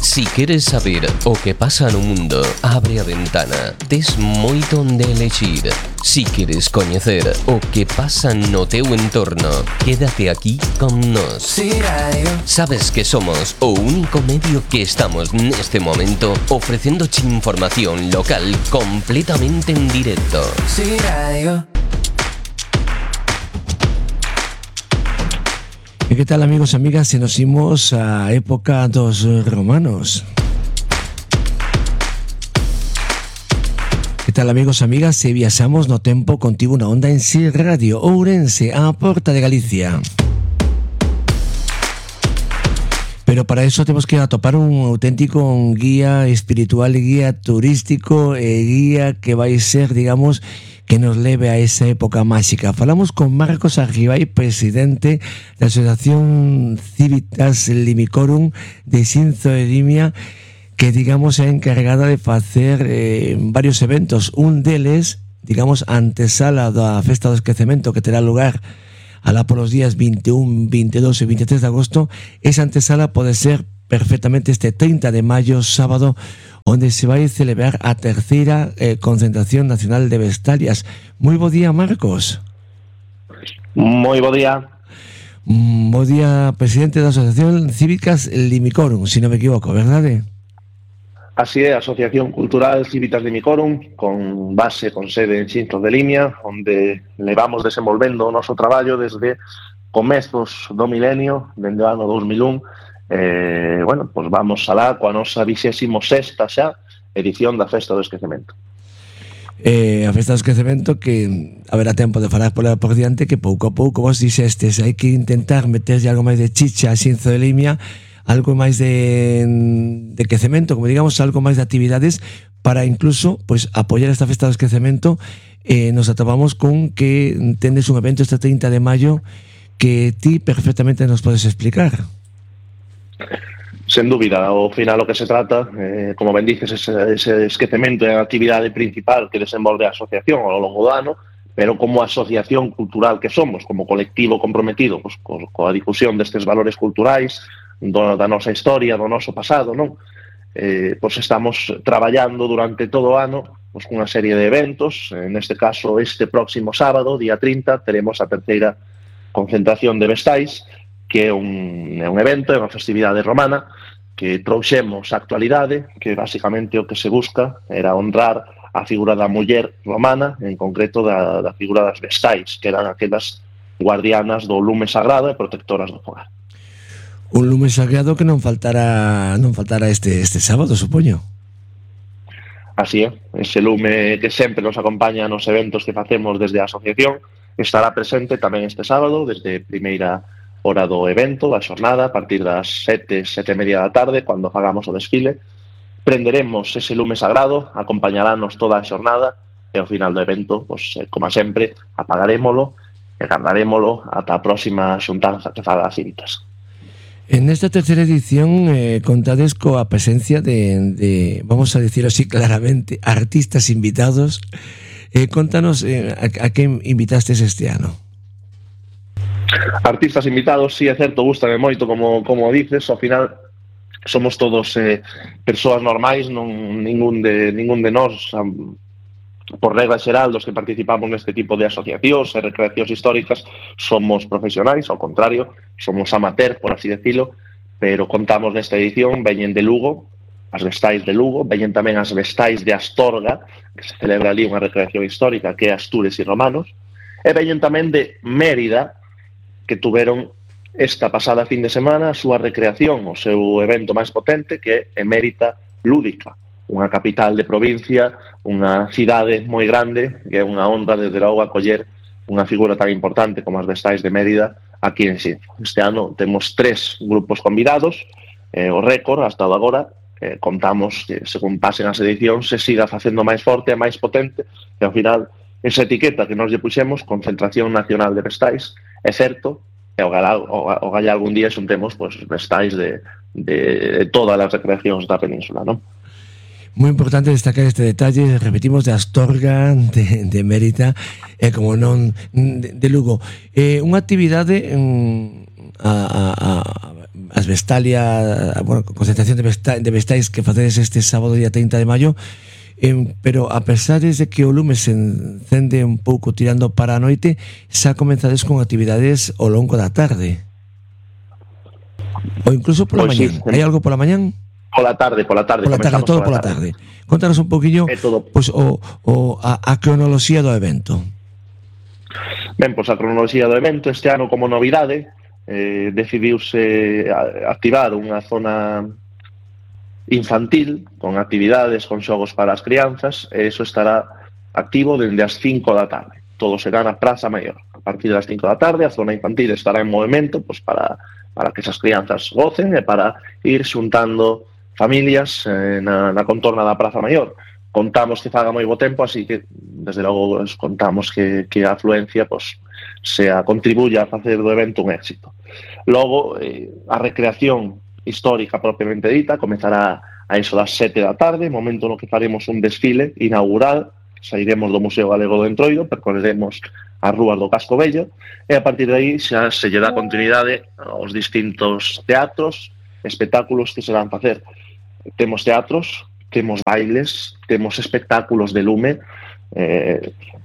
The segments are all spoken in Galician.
Si queres saber o que pasa no mundo, abre a ventana. Tes moito onde elexir. Si queres coñecer o que pasa no teu entorno, quédate aquí con nós. Sabes que somos o único medio que estamos neste momento ofrecéndoche información local completamente en directo. E que tal, amigos e amigas, se nos imos á época dos romanos? Que tal, amigos e amigas, se viaxamos no tempo contigo na onda en Si Radio Ourense, á porta de Galicia? Pero para eso temos que atopar un auténtico guía espiritual, guía turístico e guía que vai ser, digamos, que nos leve a esa época máxica. Falamos con Marcos Arribay, presidente da Asociación Cívitas Limicorum de Xinzo de Limia, que, digamos, é encargada de facer varios eventos. Un deles, digamos, antesala da Festa do Esquecemento, que terá lugar alá polos días 21, 22 e 23 de agosto. Esa antesala pode ser perfectamente este 30 de maio, sábado, onde se vai celebrar a terceira concentración nacional de Vestalias. Moi bo día, Marcos. Moi bo día. Bo día, presidente da Asociación Cívicas Limicorum, se non me equivoco, verdade? Así é, a Asociación Cultural Cívitas Limicorum, con base, con sede en Xinzo de Limia, onde levamos desenvolvendo o noso traballo desde comezos do milenio, dende o ano 2001. Bueno, pues vamos alá coa nosa 26ª xa edición da Festa do Esquecemento. A Festa do Esquecemento, que haberá tempo de falar por diante, que pouco a pouco vos dixestes, hai que intentar meterlle algo máis de chicha a Xinzo de Limia, algo máis de quecemento, como digamos, algo máis de actividades para incluso pues apoiar esta Festa do Esquecemento. Nos atopamos con que tendes un evento este 30 de maio que ti perfectamente nos podes explicar. Sen dúbida, ao final o que se trata, como ben dices, ese esquecemento é a actividade principal que desenvolve a asociación ao longo do ano, pero como asociación cultural que somos, como colectivo comprometido pues, coa difusión destes valores culturais, da nosa historia, do noso pasado, non? Pues estamos traballando durante todo o ano pues, cunha serie de eventos. Neste caso, este próximo sábado, día 30, teremos a terceira concentración de Vestais, que é un evento, é unha festividade romana que trouxemos a actualidade, que basicamente o que se busca era honrar a figura da muller romana, en concreto da figura das Vestais, que eran aquelas guardianas do lume sagrado e protectoras do fogar. Un lume sagrado que non faltará este sábado, supoño. Así é, ese lume que sempre nos acompaña nos eventos que facemos desde a asociación estará presente tamén este sábado, desde primeira hora do evento, da xornada, a partir das 7:30 da tarde, cando fagamos o desfile. Prenderemos ese lume sagrado, acompañarános toda a xornada e ao final do evento, pues, como sempre, apagarémolo e guardarémolo ata a próxima xuntanza que faga as Cívitas. En esta terceira edición contades coa presencia de, vamos a decirlo así claramente, artistas invitados. Contanos a quen invitastes este ano. Artistas invitados, sí, é certo, gústame moito, como dices, ao final somos todos persoas normais, ningún de nós, por regla xeral, dos que participamos neste tipo de asociacións e recreacións históricas, somos profesionais, ao contrario, somos amateur, por así decirlo, pero contamos nesta edición, veñen de Lugo, as Vestais de Lugo, veñen tamén as Vestais de Astorga, que se celebra ali unha recreación histórica, que é Astures e Romanos, e veñen tamén de Mérida, que tuveron esta pasada fin de semana a súa recreación, o seu evento máis potente, que é Emérita Lúdica, unha capital de provincia, unha cidade moi grande, que é unha honra desde logo acoller unha figura tan importante como as Vestais de Mérida aquí en Xinzo. Este ano temos 3 grupos convidados, o récord hasta agora, contamos que según pasen as edicións se siga facendo máis forte e máis potente, e ao final esa etiqueta que nos lle puxemos, Concentración Nacional de Vestais, é certo, e o galla algún día xuntemos pues, Vestais de todas as recreacións da península, non? Moi importante destacar este detalle, repetimos, de Astorga, de Mérida, como non de Lugo. Unha actividade as Vestalia, bueno, concentración de vestais que facedes este sábado día 30 de maio, pero a pesar de que o lume se encende un pouco tirando para a noite, xa comenzades con actividades ao longo da tarde ou incluso pola mañán. Sí. Hai algo pola mañán? Pola tarde, todo pola tarde. Contanos un poquillo pues, a cronoloxía do evento. Ben, pois a cronoloxía do evento este ano como novidade decidiuse activar unha zona infantil con actividades, con xogos para as crianzas, e iso estará activo dende as 5 da tarde. Todo será na Praza Maior. A partir das 5 da tarde a zona infantil estará en movimento pues, para que esas crianzas gocen e para ir xuntando familias na contorna da Praza Maior. Contamos que faga moi bo tempo, así que desde logo contamos que a afluencia pues, contribuya a facer do evento un éxito. Logo, a recreación histórica propiamente dita comezará a iso das 7 da tarde, momento no que faremos un desfile inaugural, sairemos do Museo Galego do Entroido, percorreremos as rúas do Casco Vello, e a partir de aí xa se lle dá continuidade aos distintos teatros, espectáculos que se van facer. Temos teatros, temos bailes, temos espectáculos de lume,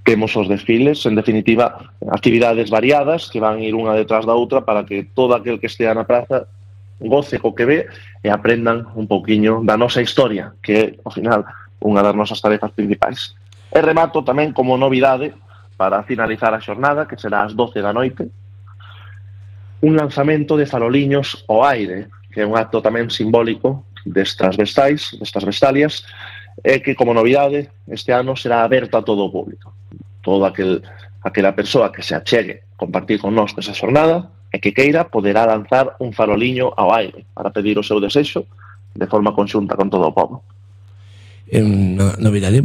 temos os desfiles, en definitiva, actividades variadas que van ir unha detrás da outra para que todo aquel que estea na praza goce co que ve e aprendan un pouquiño da nosa historia, que é, ao final, unha das nosas tarefas principais. E remato tamén como novidade, para finalizar a xornada, que será ás 12 da noite, un lanzamento de faroliños ao aire, que é un acto tamén simbólico destas vestalias, e que, como novidade, este ano será aberto a todo o público. Toda aquela persoa que se achegue compartir con nós esa xornada e que queira poderá lanzar un faroliño ao aire para pedir o seu desexo de forma conxunta con todo o povo. Novidade,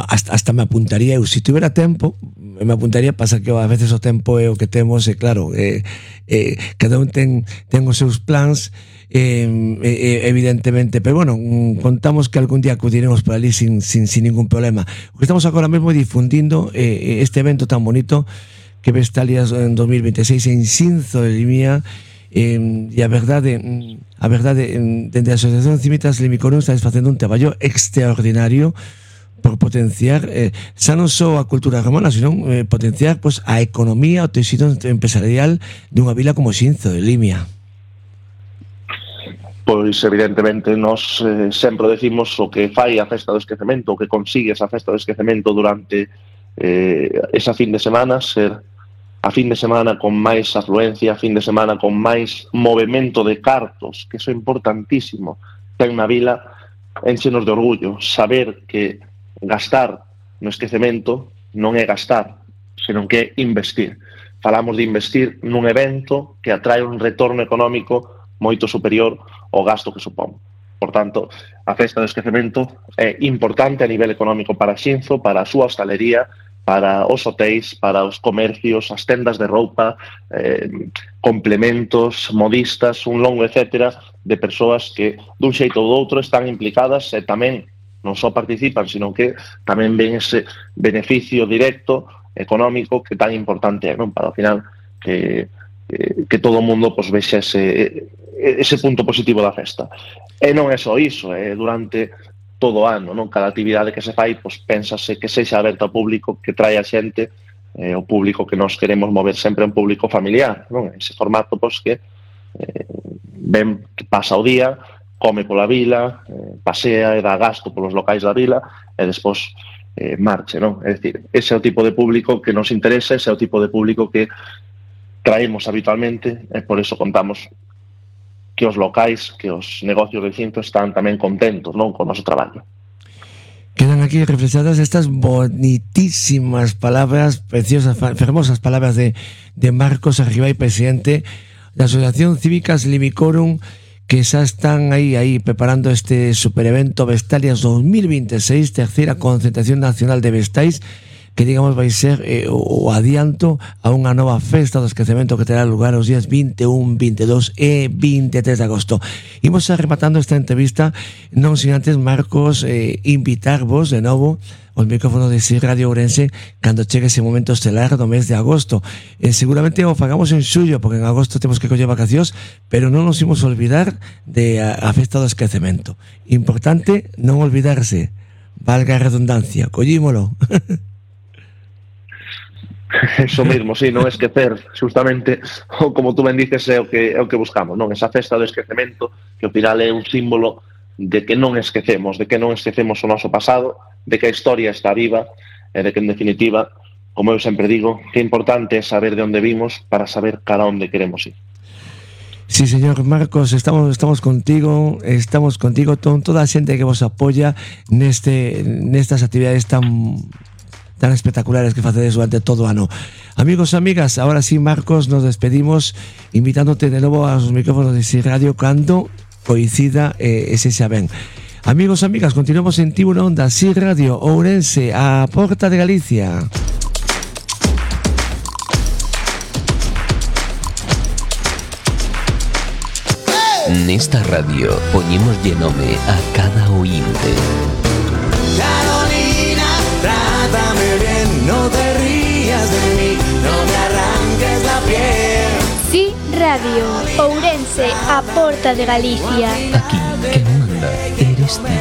hasta me apuntaría eu, se tivera tempo me apuntaría, pasa que a veces o tempo é o que temos, e claro, cada un ten os seus plans, evidentemente, pero bueno, contamos que algún día acudiremos por ali sin ningún problema. O que estamos agora mesmo difundindo este evento tan bonito que Vestalias en 2026 en Xinzo de Limia, e a verdade dende a Asociación Cimitas Limicorum está facendo un traballo extraordinario por potenciar xa non só a cultura romana, sino potenciar pues, a economía, o tecido empresarial dunha vila como Xinzo de Limia. Pois evidentemente nós sempre decimos o que fai a festa do esquecemento, o que consigue esa festa do esquecemento durante esa fin de semana, ser a fin de semana con máis afluencia, a fin de semana con máis movimento de cartos, que iso é importantísimo. Ten na vila, enchenos de orgullo, saber que gastar no esquecemento non é gastar, senón que é investir. Falamos de investir nun evento que atrae un retorno económico moito superior ao gasto que supón. Por tanto, a festa do esquecemento é importante a nivel económico para Xinzo, para a súa hostalería, para os hotéis, para os comercios, as tendas de roupa, complementos, modistas, un longo etcétera de persoas que dun xeito ou do outro están implicadas e tamén non só participan, sino que tamén ven ese beneficio directo económico que tan importante é, non? Para ao final que todo o mundo pues, vexa ese punto positivo da festa. E non é só iso, durante todo o ano, non? Cada actividade que se fai, pues, pénsase que sexa aberta ao público, que trae a xente, o público que nós queremos mover sempre é un público familiar, non? Ese formato, pues, que ven, que pasa o día, come pola vila, pasea e dá gasto polos locais da vila, e despois marche, non? É dicir, ese é o tipo de público que nos interesa, ese é o tipo de público que traemos habitualmente, e por eso contamos que os locais, que os negocios de Xinzo están tamén contentos, non, con o noso traballo. Quedan aquí reflexadas estas bonitísimas palabras, preciosas, fermosas palabras de Marcos Arribay, presidente da Asociación Cívicas Limicorum, que xa están aí preparando este superevento Vestalias 2026, terceira concentración nacional de vestais, que digamos vai ser o adianto a unha nova festa do esquecemento que terá lugar os días 21, 22 e 23 de agosto. Imos rematando esta entrevista, non sin antes, Marcos, invitarvos de novo os micrófonos de SIR Radio Ourense cando chegue ese momento estelar do mes de agosto. Seguramente o fagamos en xullo, porque en agosto temos que coller vacacións, pero non nos imos olvidar de a festa do esquecemento. Importante non olvidarse, valga a redundancia, collímolo. Eso mesmo, sí, non esquecer, justamente, como tú ben dices, é o que buscamos, non? Esa festa do esquecemento, que ao final é un símbolo de que non esquecemos o noso pasado, de que a historia está viva, e de que, en definitiva, como eu sempre digo, que é importante saber de onde vimos para saber cara onde queremos ir. Sí, señor Marcos, estamos contigo, con toda a xente que vos apoia nestas actividades tan espectaculares que facedes durante todo o ano. Amigos e amigas, ahora sí, Marcos, nos despedimos invitándote de novo aos micrófonos de SIR Radio cando coincida ese xa ben. Amigos e amigas, continuamos en Tiburon Onda, SIR Radio Ourense, a porta de Galicia. Nesta radio poñémoslle nome a cada oínte. Trátame bien, no te rías de mí, no me arranques la piel. SIR Radio Ourense, a porta de Galicia. Aquí que manda eres ti.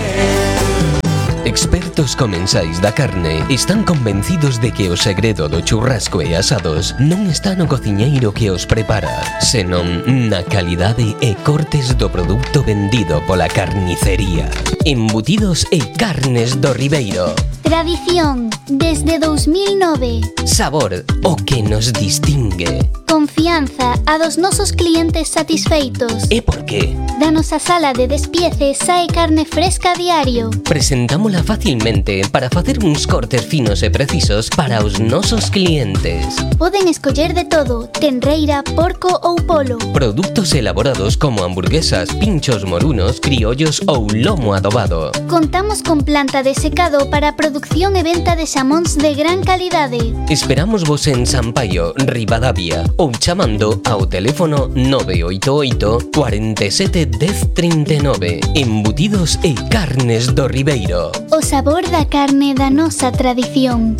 Expertos comensais da carne están convencidos de que o segredo do churrasco e asados non está no cociñeiro que os prepara, senón na calidade e cortes do produto vendido pola carnicería. Embutidos e carnes do Ribeiro. Tradición desde 2009. Sabor, o que nos distingue. Confianza a dos nosos clientes satisfeitos. E por qué? Da nosa sala de despiece sae carne fresca a diario. Presentámola facilmente para facer uns cortes finos e precisos para os nosos clientes. Poden escoller de todo, tenreira, porco ou polo. Produtos elaborados como hamburguesas, pinchos morunos, criollos ou lomo adobado. Contamos con planta de secado para producción e venta de xamóns de gran calidade. Esperamos vos en Sampaio, Ribadavia, ou chamando ao teléfono 988 47 10 39. Embutidos e carnes do Ribeiro. O sabor da carne da nosa tradición.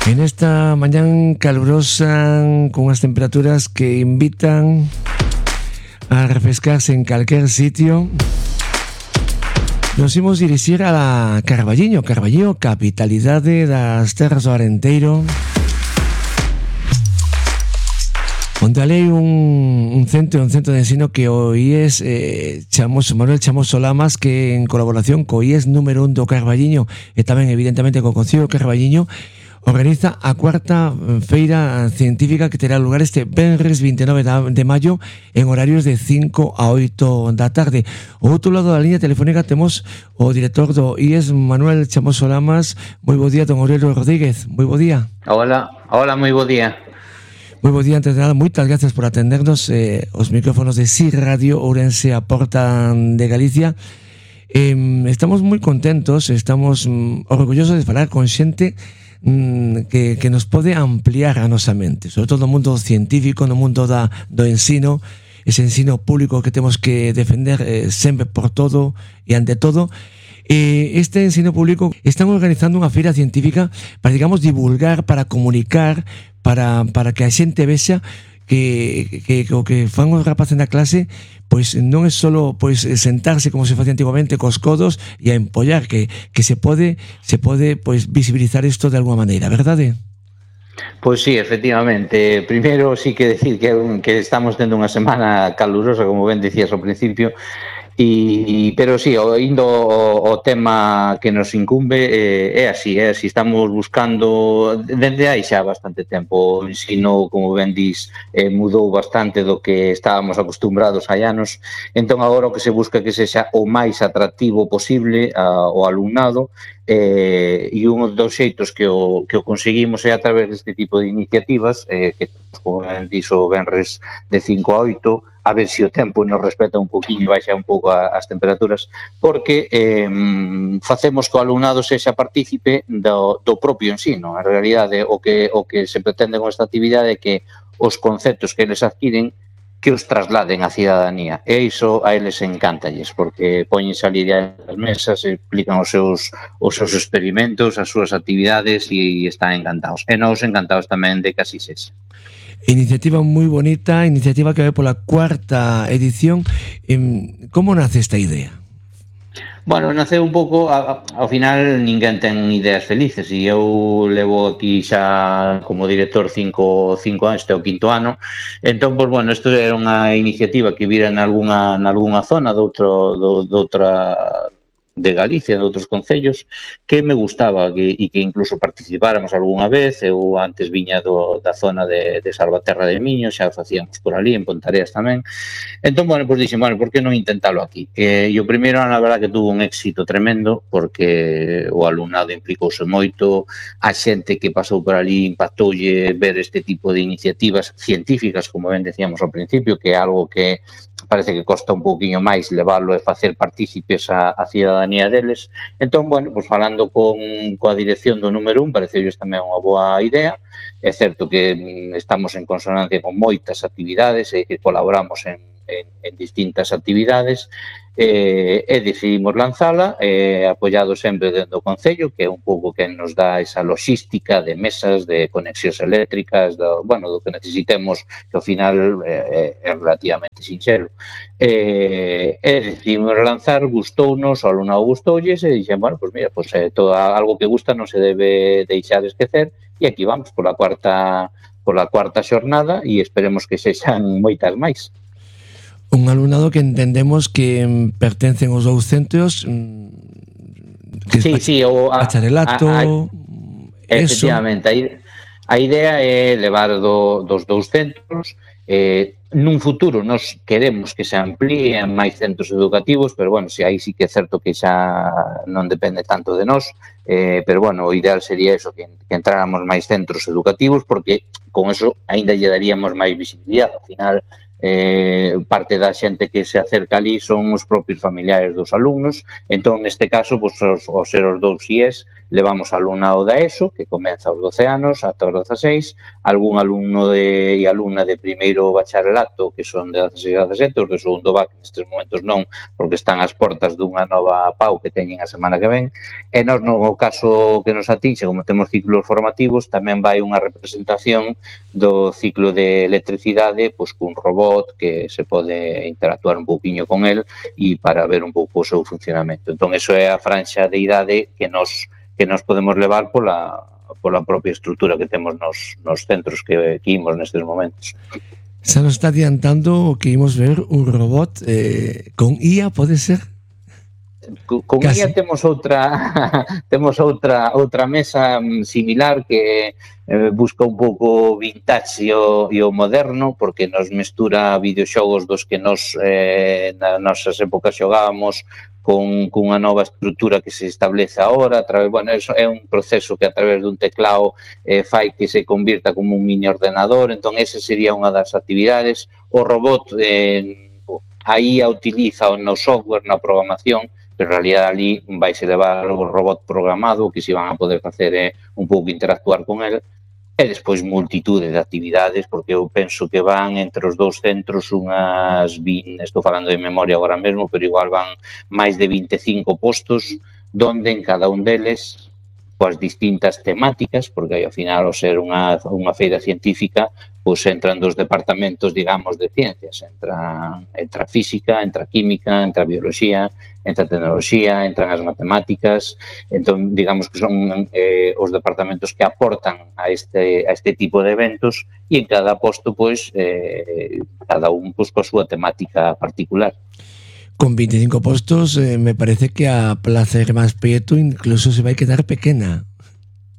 En esta mañán calurosa, con as temperaturas que invitan a refrescarse en calquer sitio, nos imos dirixir a Carballiño, capitalidade das terras do Arenteiro, onde hai un centro de ensino que o IES Manuel Chamoso Lamas, que en colaboración co IES número 1 do Carballiño e tamén evidentemente co Concello do Carballiño, organiza a cuarta feira científica que terá lugar este venres 29 de maio en horarios de 5 a 8 da tarde. Ao outro lado da liña telefónica temos o director do IES, Manuel Chamoso Lamas. Moi bo día, don Aurelio Rodríguez. Moi bo día. Hola, moi bo día. Moi bo día, antes de nada, moitas gracias por atendernos os micrófonos de SIR Radio Ourense, a porta de Galicia. Estamos moi contentos, estamos orgullosos de falar con xente que nos pode ampliar a nosa mente, sobre todo no mundo científico, no mundo do ensino, ese ensino público que temos que defender sempre por todo e ante todo. Este ensino público están organizando unha feira científica para, digamos, divulgar, para comunicar, para que a xente vexa que o que fan os rapaces na clase pois non é solo pois sentarse como se facía antigamente cos codos e a empollar, que se pode pois visibilizar isto de alguma maneira, verdade? Pois sí, efectivamente. Primeiro sí que decir que estamos tendo unha semana calurosa, como ben dicías ao principio, pero sí, indo o tema que nos incumbe, é así, estamos buscando dende hai xa bastante tempo. O ensino, como ben dis, mudou bastante do que estábamos acostumbrados hai anos, entón agora o que se busca que sexa o máis atractivo posible ao alumnado, e un dos xeitos que o conseguimos é a través deste tipo de iniciativas, que, como ben dixo, venres de 5 a 8, a ver se o tempo nos respeta un poquinho, baixa un pouco as temperaturas, porque facemos que o alumnado sexa partícipe do propio ensino. En realidade, o que se pretende con esta actividade é que os conceptos que eles adquiren que os trasladen á cidadanía. E iso a eles encántalles, porque poñen salir das mesas, explican os seus experimentos, as súas actividades e están encantados. E nós encantados tamén de que así sexa. Iniciativa moi bonita, iniciativa que vai pola 4ª edición. Como nace esta idea? Bueno, naceu un pouco, ao final ninguén ten ideas felices e eu levo aquí xa como director 5 anos, este é o 5º ano. Entón, pois, bueno, isto era unha iniciativa que vira nalgúna zona doutra de Galicia, de outros concellos, que me gustaba e que incluso participáramos algunha vez. Eu antes viña da zona de Salvaterra de Miño, xa facíamos por ali, en Pontareas tamén. Entón, bueno, pois dixen, bueno, por que non intentalo aquí? E o primeiro ano, a verdad, que tuvo un éxito tremendo, porque o alumnado implicouse moito, a xente que pasou por ali impactoulle ver este tipo de iniciativas científicas, como ben decíamos ao principio, que é algo que parece que costa un pouquiño máis leválo e facer partícipes a cidadanía deles. Entón, bueno, pois falando coa dirección do número 1, pareceules tamén unha boa idea. É certo que estamos en consonancia con moitas actividades e que colaboramos en distintas actividades, e decidimos lanzala, apoiado sempre dentro do Concello, que é un pouco que nos dá esa logística de mesas, de conexións eléctricas, do que necesitemos, que ao final é relativamente sinxelo. Decidimos lanzar, gustounos, o alumnado gustoulles, e dixen, bueno, pois mira, todo algo que gusta non se debe deixar esquecer, e aquí vamos pola cuarta xornada, e esperemos que sexan moitas máis. Un alumnado que entendemos que pertencen aos dous centros, que sí, o bacharelato, efectivamente, a idea é levar dos dous centros. Nun futuro nos queremos que se amplíen máis centros educativos, pero bueno, aí sí que é certo que xa non depende tanto de nós, pero bueno, o ideal sería eso, que entráramos máis centros educativos, porque con eso aínda lle daríamos máis visibilidade. Ao final, parte da xente que se acerca ali son os propios familiares dos alumnos. Entón, neste caso, ao ser os dous IES, levamos alumnado da ESO, que comeza aos 12 anos, ata os 16, algún alumno e alumna de primeiro bacharelato, que son de 16 a 17, os de segundo BAC nestes momentos non, porque están ás portas dunha nova PAU que teñen a semana que ven. E nós, no caso que nos atinxe, como temos ciclos formativos, tamén vai unha representación do ciclo de electricidade, pois cun robot que se pode interactuar un pouquiño con el e para ver un pouco o seu funcionamento. Entón, eso é a franxa de idade que nos podemos levar pola propia estrutura que temos nos centros que imos nestes momentos. Se nos está adiantando que imos ver un robot con IA, pode ser? Con IA temos outra mesa similar que busca un pouco vintage e o moderno, porque nos mestura videoxogos dos que nos nas nosas épocas xogábamos cunha nova estrutura que se establece agora. Bueno, eso é un proceso que a través dun teclado fai que se convirta como un mini ordenador. Entón, ese sería unha das actividades. O robot, a IA utiliza no software, na programación, pero en realidad ali vai se levar o robot programado, que se van a poder facer un pouco interactuar con ele, e despois multitude de actividades, porque eu penso que van entre os dous centros unhas 20, estou falando de memoria agora mesmo, pero igual van máis de 25 postos, donde en cada un deles coas distintas temáticas, porque aí ao final, ao ser unha feira científica, pois entran dos departamentos, digamos, de ciencias. Entra física, entra química, entra biología, entra tecnoloxía, entran as matemáticas. Entón, digamos que son os departamentos que aportan a este tipo de eventos, e en cada posto, pois, cada un coa súa temática particular. Con 25 postos, me parece que a Plaza Hermás Prieto incluso se vai quedar pequena.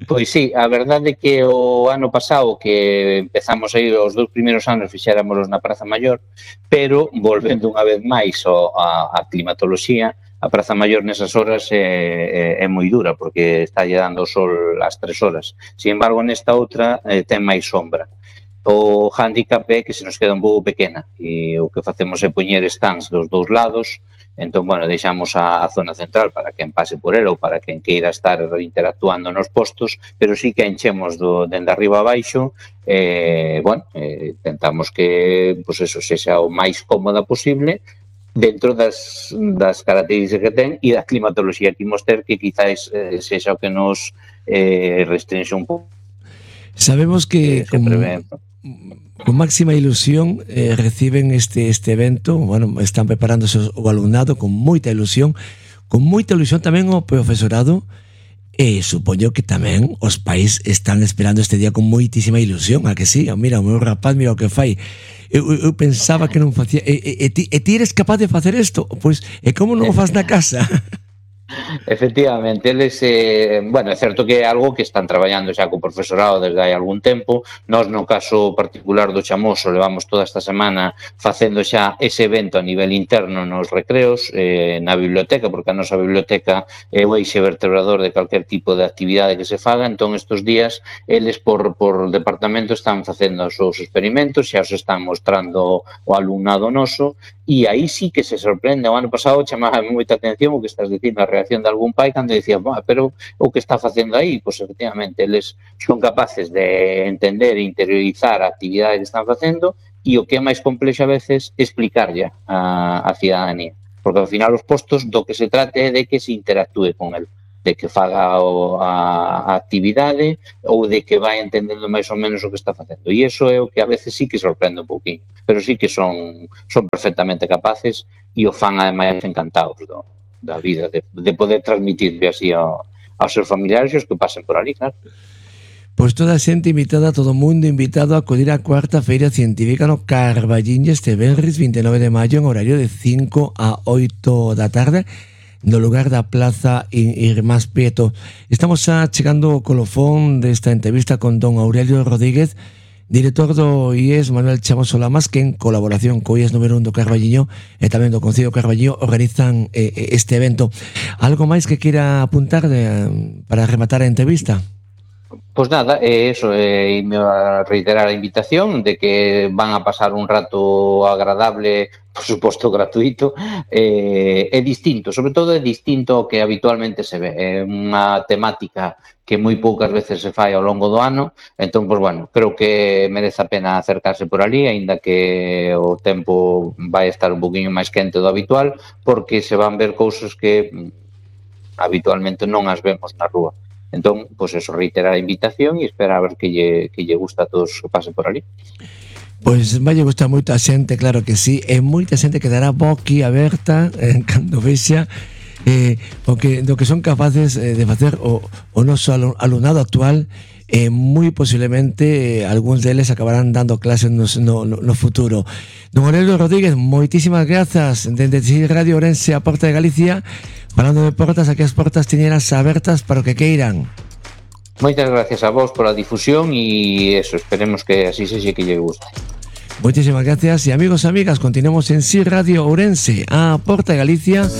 Pois sí, a verdade é que o ano pasado que empezamos a ir, os 2 primeiros anos fixéramolos na Praza Maior, pero volvendo unha vez máis a climatoloxía, a Praza Maior nesas horas é moi dura, porque está lle dando o sol ás 3 horas. Sin embargo, nesta outra ten máis sombra. O handicap é que se nos queda un pouco pequena, e o que facemos é poñer stands dos dous lados, Entón, bueno, deixamos a zona central para quen pase por ela ou para quen queira estar interactuando nos postos, pero sí que enchemos dende arriba a baixo. Tentamos que, pois eso, sexa o máis cómoda posible dentro das características que ten e da climatoloxía que imos ter, que quizás sexa o que nos restringe un pouco. Sabemos que con máxima ilusión reciben este evento, bueno, están preparándose o alumnado con moita ilusión tamén o profesorado, e supoño que tamén os pais están esperando este día con moitísima ilusión, a que sí? Mira, o meu rapaz, mira o que fai. Eu pensaba que non facía, e ti eres capaz de facer isto? Pois, e como non o faz na casa? Efectivamente, eles, é certo que é algo que están traballando xa co profesorado desde hai algún tempo. Nós, no caso particular do Chamoso, levamos toda esta semana facendo xa ese evento a nivel interno nos recreos, na biblioteca, porque a nosa biblioteca é o eixe vertebrador de calquer tipo de actividade que se faga. Entón, estes días, eles por departamento están facendo os seus experimentos, xa os están mostrando o alumnado noso, e aí sí que se sorprende. O ano pasado chamaba moita atención o que estás dicindo, a reacción de algún pai cando dicía, pero o que está facendo aí? Pois efectivamente, eles son capaces de entender e interiorizar a actividade que están facendo, e o que é máis complexo a veces explicarlle a cidadanía, porque ao final os postos do que se trate é de que se interactúe con el, de que faga a actividade ou de que vai entendendo máis ou menos o que está facendo. E iso é o que a veces sí que sorprende un pouquinho, pero sí que son perfectamente capaces e o fan ademais encantados da vida, de poder transmitirle así aos seus familiares e os que pasen por ali, claro. Pois toda a xente invitada, todo o mundo invitado a acudir á cuarta Feira Científica no Carballiño este venres 29 de maio en horario de 5 a 8 da tarde, no lugar da Plaza Irmás Prieto. Estamos xa chegando ao colofón desta entrevista con don Aurelio Rodríguez, director do IES Manuel Chamoso Lamas, que en colaboración co IES número 1 do Carballiño e tamén do Concello do Carballiño organizan este evento. Algo máis que queira apuntar para rematar a entrevista? Pois nada, eso, me a reiterar a invitación de que van a pasar un rato agradable, por suposto gratuito, é distinto, sobre todo é distinto ao que habitualmente se ve, é unha temática que moi poucas veces se fai ao longo do ano. Entón, pois bueno, creo que merece a pena acercarse por ali, aínda que o tempo vai estar un poquinho máis quente do habitual, porque se van ver cousas que habitualmente non as vemos na rúa. Entón, pois eso, reiterar a invitación e esperar a ver que lle gusta a todos que pasen por ali. Pois vai gustar moito a xente, claro que sí, e moita xente quedará boqui aberta cando vexa do que son capaces de facer o noso alumnado actual. Moi posiblemente algúns deles acabarán dando clases no futuro. Don Aurelio Rodríguez, moitísimas grazas dende Radio Ourense, a Porta de Galicia. Falando de portas, aquí as portas tiñeras abertas para o que queiran. Moitas gracias a vos pola difusión e eso, esperemos que así sexe, que lle guste. Moitísimas gracias e amigos e amigas, continuamos en Radio Ourense, a Porta de Galicia.